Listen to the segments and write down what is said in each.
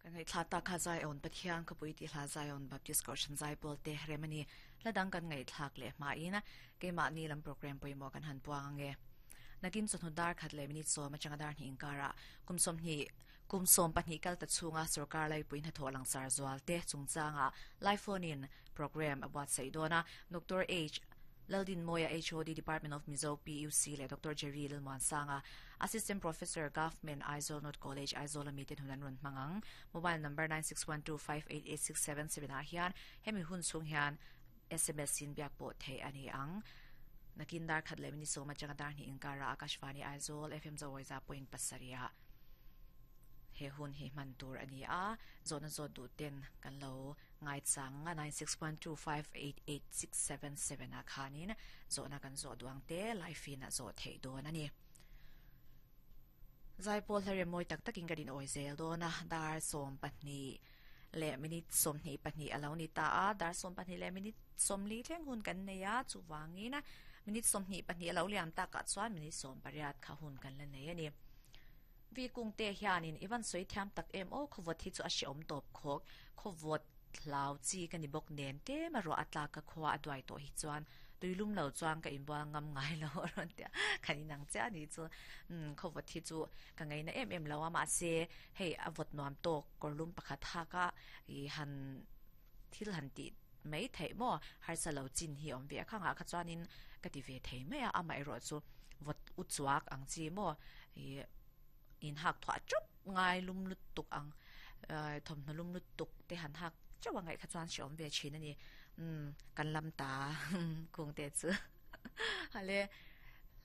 Ka ngaihthla ta kha Zion Pathian khawpui tih hla Zion Baptist Kohhran Zaipawl te rem a ni. Hla dang kan ngaihthlak leh hmain keimahni lam program pawimawh kan han puang ange. Nakin chawhnu dar khat leh minute sawm atanga dar hnih inkarah kum sawmhnih kum sawmpahnih kal ta chhunga sorkar laipui hnathawh langsar zual te chungchangah Live phone in program a buatsaih dawn a. Doctor H. Laldinmawia HOD Department of Mizo PUC leh Doctor Jerry Lalmuansanga Assistant Professor Government Aizawl North College Aizawl ami ten hun an rawn hmang ang. Mobile number 9612588677 ah hian hemi hun chhung hian sms in biak pawh theih a ni ang. Nakin dar khat leh minute sawm atanga dar hnih inkarah Akashvani Aizawl FM Zawawiza point pasarih ah he hun hi hman tur a ni a, zawhna zawt duh ten kan lo ngaichang a 9612588677 ah khanin zawhna kan zawh duh ang te live in a zawh theih dawn a ni. Zaipawl hla rem mawi tak takin ka din awi zel dawn a, dar 12 leh minute 22 a lo ni ta a, dar 12 leh minute 40 thleng hun kan nei a, chuvangin minute 22 a lo liam takah chuan minute 18 kha hun kan la nei a ni. Vi Kungte hianin i van sawi thiam tak em aw, khawvawt hi chu a hreawm tawp khawk, khawvawt hlau chi ka ni bawk nen tlem a ruah a tlak ka khua a duai tawh hi chuan tuilum lo chuan ka inbual ngam ngai lo a rawn ti a, kan inang chiah a nih chu. Umm khawvawt hi chu ka ngaina em em lo a, mahse hei a vawt nuam tawk kawrlum pakhat hak a i han thil han tih mai theih maw harsa lo chin hi awm ve a, khangah kha chuanin ka ti ve thei mai a, amaherawh chu vawt u chuak ang chi maw ih in hak thuah chup ngai lum lutuk ang thawmhnaw lum lutuk te han hak chauh a ngaih kha chuan hre awm ve thin a ni umm kan lam ta kung te chu hale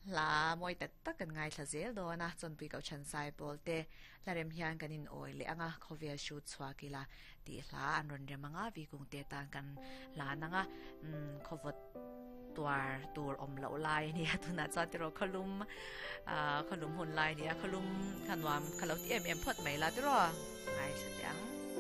hla mawi tak tak kan ngaithla zel dawn a chawnpui koh chhan sai pawl te hla rem hian kan in awi leh ang a khawvel hrut chhuak ila tih hla an rawn rem ang a vikung te tan kan hlan ang a umm khawvawt tuar tur awm loh lai a nia tunah chuan tiraw khawlum ah khawlum hun lai a nia khawlum kha nuam kha lo ti em em phawt mai la tiraw ngaithla teh ang.